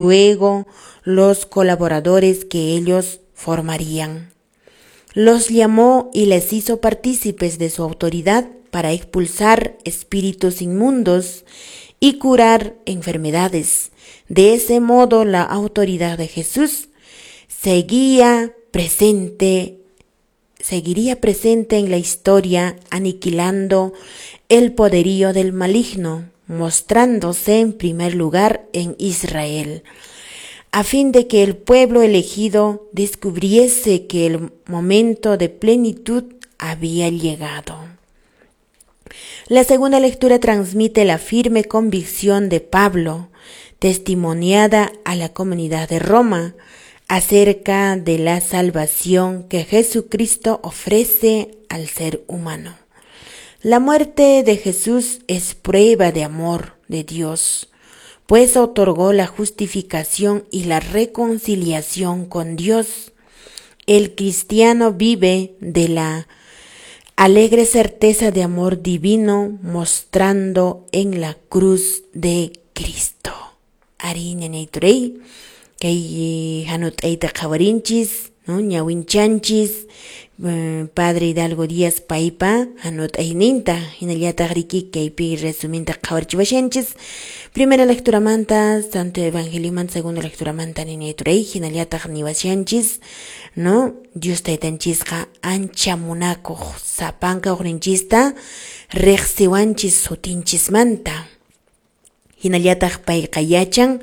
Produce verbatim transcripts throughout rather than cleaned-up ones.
Luego los colaboradores que ellos formarían. Los llamó y les hizo partícipes de su autoridad para expulsar espíritus inmundos y curar enfermedades. De ese modo, la autoridad de Jesús seguía presente, seguiría presente en la historia, aniquilando el poderío del maligno, mostrándose en primer lugar en Israel, a fin de que el pueblo elegido descubriese que el momento de plenitud había llegado. La segunda lectura transmite la firme convicción de Pablo, testimoniada a la comunidad de Roma, acerca de la salvación que Jesucristo ofrece al ser humano. La muerte de Jesús es prueba de amor de Dios, pues otorgó la justificación y la reconciliación con Dios. El cristiano vive de la alegre certeza de amor divino mostrando en la cruz de Cristo. Arí, ñañayturay, kay hanut'ayta qhawarinchis, no, ñawinchanchis, eh, Padre Hidalgo Díaz paypa hanut'ayninta, hinallataq riki kaypi resuminta qhawarichiwashanchis. Primera lecturamanta, Santo Evangeliomanta, segunda lecturamanta, ñañayturay, hinallataq niwashanchis, no, Dios taytanchisqa ancha munakuq, sapanka uqninchista riqsiwanchis sutinchismanta. Hinallataq payqa yachan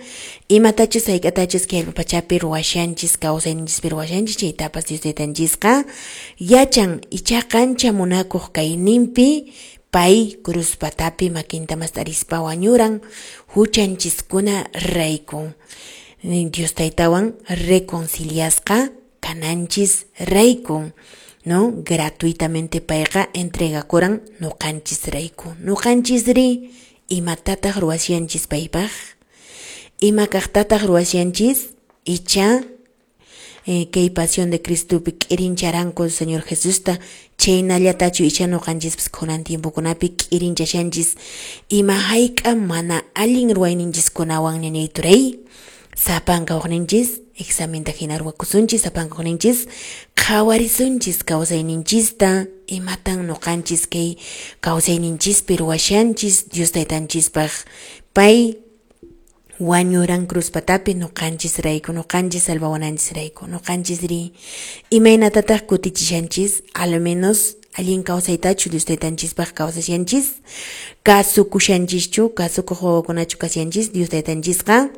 imatachus hayk'atachus kay pachapi ruwashanchis, kawsayninchispi ruwashanchis, chaytapas Dios taytanchisqa yachan. Ichaqa ancha munakuq kayninpi pay cruz patapi makinta mast'arispa wañuran huchanchiskuna rayku. Dios taytawan reconciliasqa kananchis rayku, no, gratuitamente payqa entregakuran nuqanchis rayku. Nuqanchisri imatataq ruwashanchis paypaq? Ima kaqtataq ruwashanchis? Icha eh, kay pasión de Cristopi k'irincharanku Señor Jesusta, chaynallatachu icha nuqanchispas kunan tiempokunapi k'irinchashanchis ima hayk'a mana allin ruwayninchiskunawan, ñañayturay? Sapanka uqninchis examenta hina ruwakusunchis, sapanka uqninchis qhawarisunchis kawsayninchista, imatan nuqanchis kay kawsayninchispi ruwashanchis Dios taytanchispaq. Pay wañuran cruz patapi nuqanchis rayku, nuqanchis salvawananchis rayku. Nuqanchisri imaynatataq kutichishanchis? Al menos allin kawsaytachu Dios taytanchispaq kawsashanchis? Kasukushanchischu? Kasukuq wawakunachu kashanchis? Dios taytanchisqa,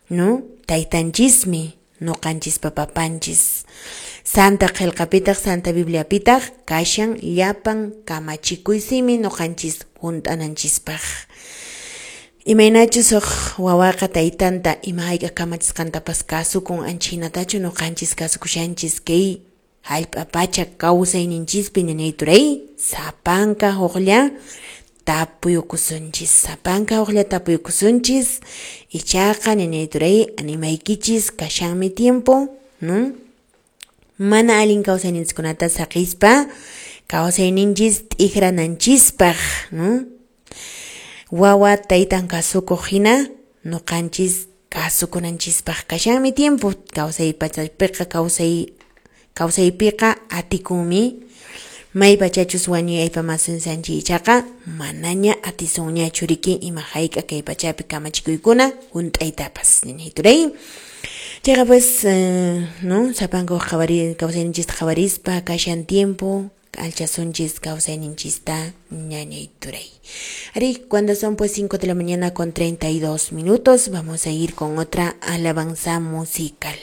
no, taytanchismi, nuqanchispa papanchis. Santa qillqapitaq, Santa Bibliapitaq kashan llapan kamachikuy simi nuqanchis hunt'ananchispaq. Imaynachus huk wawaqa taytanta ima hayk'a kamachisqantapas kasukun, anchhinatachu nuqanchis kasukushanchis kay hallp'a pacha kawsayninchispi, ñañayturay? Sapanka huklla tapuyukusunchis, sapanka huklla tapuyukusunchis. Ichaqa, ñañayturay, animaykichis, kashanmi tiempo, no, mana allin kawsayninchiskunata saqispa kawsayninchis t'ikrananchispaq, no, wawa taytan kasukuq hina nuqanchis kasukunanchispaq kashanmi tiempo. Kawsay pachapiqa, kawsay kawsaypiqa atikunmi. May pachachus wañuy aypamasunsanchis ichaqa manaña atisunñachu riki ima hayk'a kay pachapi kamachikuykuna hunt'aytapas, ñañayturay. Chayqa pues, eh, no, sapanka qhawari kawsayninchista qhawarispa kashan tiempo, alchasunchis kawsayninchista, ñañayturay. Ari, cuando son pues cinco de la mañana con treinta y dos minutos, vamos a ir con otra alabanza musical.